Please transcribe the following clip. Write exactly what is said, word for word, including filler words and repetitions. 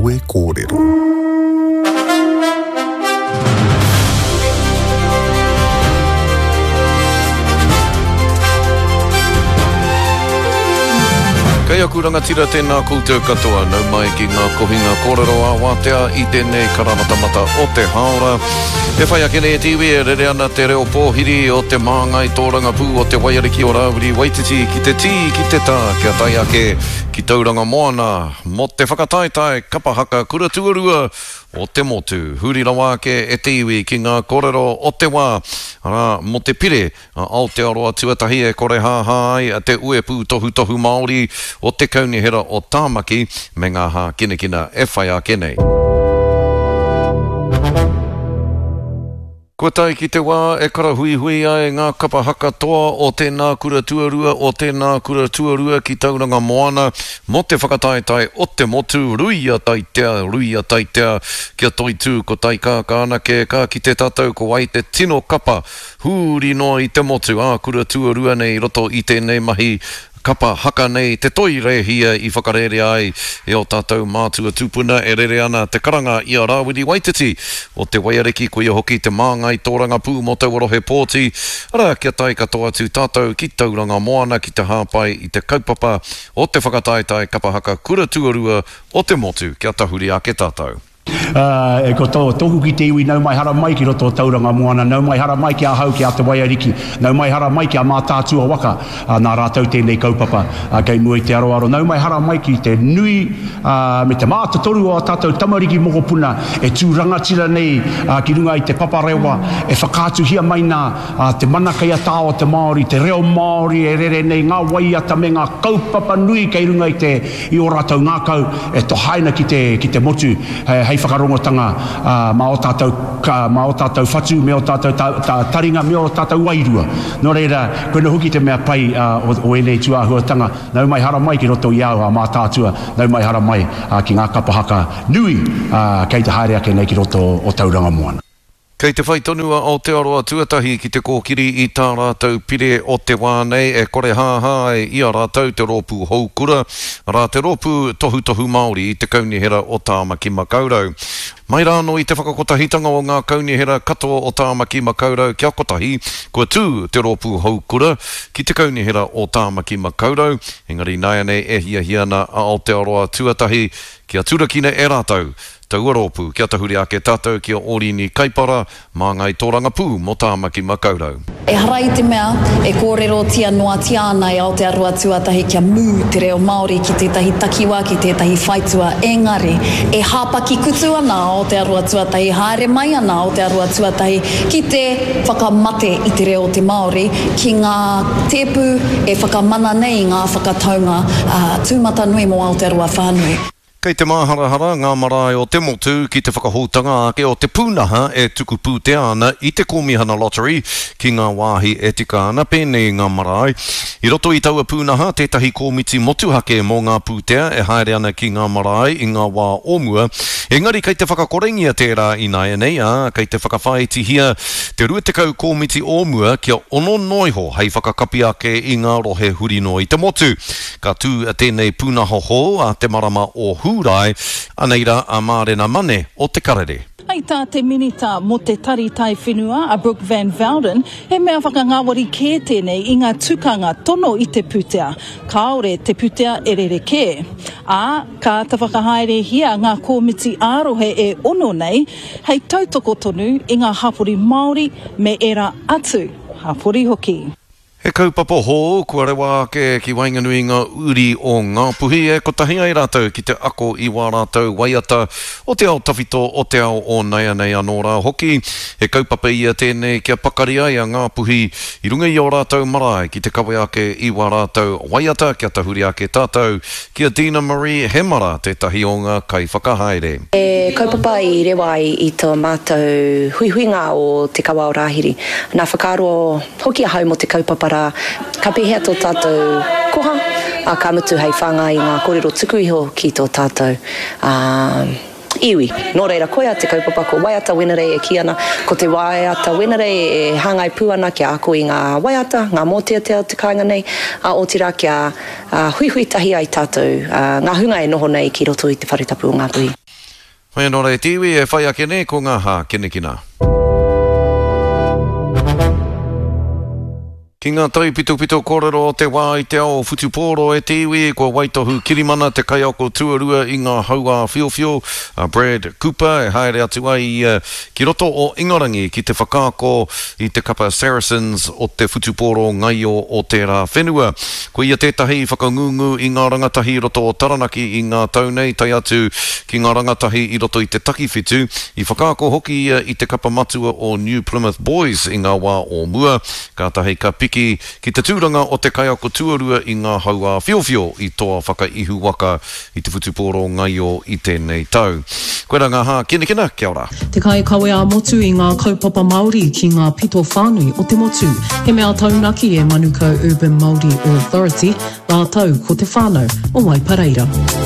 Kawe Kōrero. Kei aku rangatira tēnā koutou katoa, nau mai ki ngā kohinga kōrero ā wātea i tēnei karamatamata o te hāora. E whai ake nei e te iwi e rere ana te reo pōhiri o te māngai tōrangapū o te Waiariki o Rāwiri Waititi ki te tī, ki te tā, kia tae ake ki Tauranga Moana mō te whakataetae kapa haka kura tuarua o te motu. Huri rawa ake e te iwi ki ngā kōrero o te wā, arā, mō te pire a Aotearoa tuatahi e kore hāhā ai te uepū tohutohu Māori o te Kaunihera o Tāmaki me ngā hākinakina e whai ake nei. Kua tae ki te wā e karahuihui ai ngā kapa haka toa o tēnā kura tuarua, o tēnā kura tuarua ki Tauranga Moana mō te whakataetae o te motu, ruia taitea, ruia taitea, kia toitū ko taikākā anake, ka kite tātou ko wai te tino kapa huri noa i te motu, ā kura tuarua nei i roto i tēnei mahi kapa haka nei te toi rēhia i whakarērea ai e ō tātou mātua tūpuna e rere ana te karanga i a Rāwiri Waititi o te Waiariki, koia hoki te māngai tōrangapū mō taua rohe pōti, arā kia tae katoa atu tātou ki Tauranga Moana ki te hāpai i te kaupapa o te whakataetae kapa haka kura tuarua o te motu kia tahuri ake tātou. Uh, e ko tō, tōku ki te iwi, nau mai hara mai ki roto o Tauranga Moana, nau mai hara mai ki ahau ki a Te Waiariki, nau mai hara mai ki a Mātaatua waka, uh, nā rātou tēnei kaupapa uh, kei mua i te aroaro, nau mai hara mai ki te nui uh, me te mātotoru o a tātou tamariki mokopuna e tū rangatira nei uh, ki runga i te paparewa, e whakaatuhia mai nā uh, te mana kei a tā o te Māori, te reo Māori e rere nei, ngā waiata me ngā kaupapa nui kei runga i te i o rātou ngākau e tohaina ki te, ki te motu, hei whakarongotanga uh, mā o tātou, ka, mā o tātou whatu, me o tātou ta, ta, taringa, me o tātou wairua. Nō reira, koina hoki te mea pai uh, o, o ēnei tūāhuatanga, nau mai hara mai ki roto i au a Mātaatua, nau mai hara mai uh, ki ngā kapa haka nui uh, kei te haere ake nei ki roto o Tauranga Moana. Kei te whai tonu a Aotearoa tuatahi ki te kōkiri i tā rātou pire o te wā nei e kore hāhā ai i a rātou te rōpū houkura, arā te rōpū tohutohu Māori i te Kaunihera o Tāmaki Makaurau. Mai rānō i te whakakotahitanga o ngā kaunihera katoa o Tāmaki Makaurau kia kotahi, kua tū te rōpū houkura ki te Kaunihera o Tāmaki Makaurau, engari nāianei e hiahia ana a Aotearoa tuatahi kia turakina e rātou taua rōpū, kia tahuri ake tātou ki a Orini Kaipara, māngai tōrangapū mō Tāmaki Makaurau. Ehara i te mea e kōrerotia noatia ana e Aotearoa tuatahi kia mū te reo Māori ki tētahi takiwā, ki tētahi whaitua, engari e hāpaki kutu ana Aotearoa tuatahi, haere mai ana Aotearoa tuatahi ki te whakamate i te reo o te Māori, ki ngā tēpu e whakamana nei ngā whakataunga uh, tūmatanui mō Aotearoa whānui. Kei te māharahara ngā marae o te motu ki te whakahoutanga ake o te pūnaha e tuku pūtea ana i te Kōmihana Lottery ki ngā wāhi e tika ana pēnei ngā marae. I roto i taua pūnaha tētahi kōmiti motuhake mō ngā pūtea e haere ana ki ngā marae i ngā wā o mua. Engari kei te whakakorengia tērā ināianei, ā, kei te whakawhāitihia te rua tekau kōmiti o mua kia ono noa iho hei whakakapi ake i ngā rohe huri noa i te motu. Ka tū tēnei pūnaha hou a te marama o Hūrae, anei rā a Mārena Mane o Te Karere. Hei tā te minita mō te Tari Taiwhenua a Brooke Van Velden, he mea whakangāwari kē tēnei i ngā tukanga tono i te pūtea. Kāore te pūtea e rerekē. Ā, ka ta whakahaerehia ngā kōmiti ā-rohe e ono nei, hei tautoko tonu i ngā hapori Māori me era atu hapori hoki. He kaupapa hou kua rewa ake ki waenganui ngā uri o Ngāpuhi e kotahi ai rātou ki te ako i wā rātou waiata o te ao tawhito o te ao o naianei anō rā hoki. He kaupapa ia tēnei kia pakari ai a Ngāpuhi i runga i ō rātou marae ki te kawe ake i wā rātou waiata kia tahuri ake tātou ki a Dina Marie Hemara tētahi o ngā kaiwhakahaere. He kaupapa i rewa ai i tō mātou huihuinga o Te Kawa o Rāhiri. Nā whakaaro hoki ahau mō te kaupapa rā, ka pēhea tō tātou koha, a ka mutu hei whāngai i ngā kōrero tuku iho ki tō tātou uh, iwi. Nō reira, koia te kaupapa ko Waiata Wenerei e kī ana, ko te Waiata Wenerei e hāngai pū ana kia ako i ngā waiata, ngā mōteatea o te kāinga nei, a otirā kia uh, huihui tahi ai tātou, uh, ngā hunga e noho nei ki roto i te whare tapu o Ngāpuhi. Hoi anō rā e te iwi, e whai ake nei ko ngā hākinakina. Ki ngā taipitopito kōrero o te wā i te ao whutupōro e te iwi, kua waitohu kirimana te kaiako tuarua i ngā hau-ā-whiowhio, a Brad Cooper, e haere atu ai ia ki roto o Ingarangi ki te whakaako i te kapa Saracens o te whutupōro ngaio o tērā whenua. Ko ia tētahi i whakangungu i ngā rangatahi i roto o Taranaki i ngā tau nei, tae atu ki ngā rangatahi i roto i te takiwhitu. I whakaako hoki ia i te kapa matua o New Plymouth Boys i ngā wā o mua, kātahi ka piki ki te tūranga o te kaiako tuarua i ngā hau-ā-whiowhio i toa whakaihuwaka i te whutupōro ngaio i tēnei tau. Koirā ngā hākinakina, kia ora. Te kaikawe ā-motu i ngā kaupapa Māori ki ngā pito whānui o te motu. He mea taunaki e Manukau Urban Māori Authority rātou ko te whānau o Waipareira.